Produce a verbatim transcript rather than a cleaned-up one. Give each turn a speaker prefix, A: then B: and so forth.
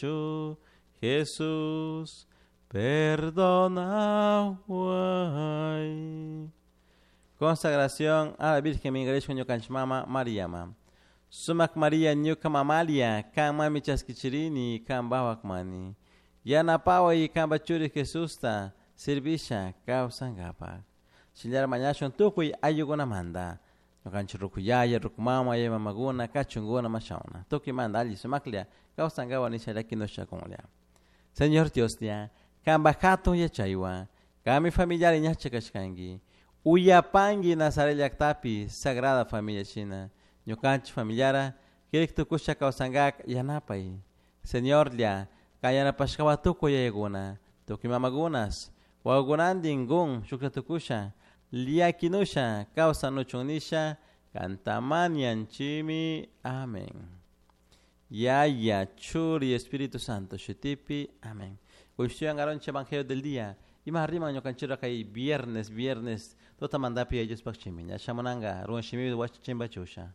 A: Chu Jesús perdonahuay. Consagración a la Virgen Mingarishka ñukanchik mama Mariama. Sumak Maria ñuka mamalia, kan mami chaskichirini, kan bawak mani. Yanapaway kanpa churi Jesusta servisha kawsankapak. Shinallara mañashun tukuy ayllukunamanta. Ñukanchik ruku yaya, ruku mama, yaya mamakuna, kachunkuna, mashawna. Tukuymanta alli sumaklla kawsankapak nisha llakinushakunlla. Señor Dioslla, kanpak hatun yachaywan, kanmi familiari ñacha kashkanki. Uyapanki Nazaret llaktapi Sagrada Familia shina. Ñukanchik familiara kirik tukusha kawsankak yanapay. Señorlla, kan yanapashkawan tukuy yayakuna, tukuy mamakunas, wawakunantin kun shuklla tukusha, llakinusha kawsanuchun nisha, kanta mañanchimi. Amén. Yaya, Churi, Espíritu Santo, shutipi. Amén. Kushtuyan garonche Evangelio del día. Ima riman ñukanchira kay viernes, viernes, tota mandapi ellos pakchimi. Ña shamunanga, ruan shimi wachchimba chusha.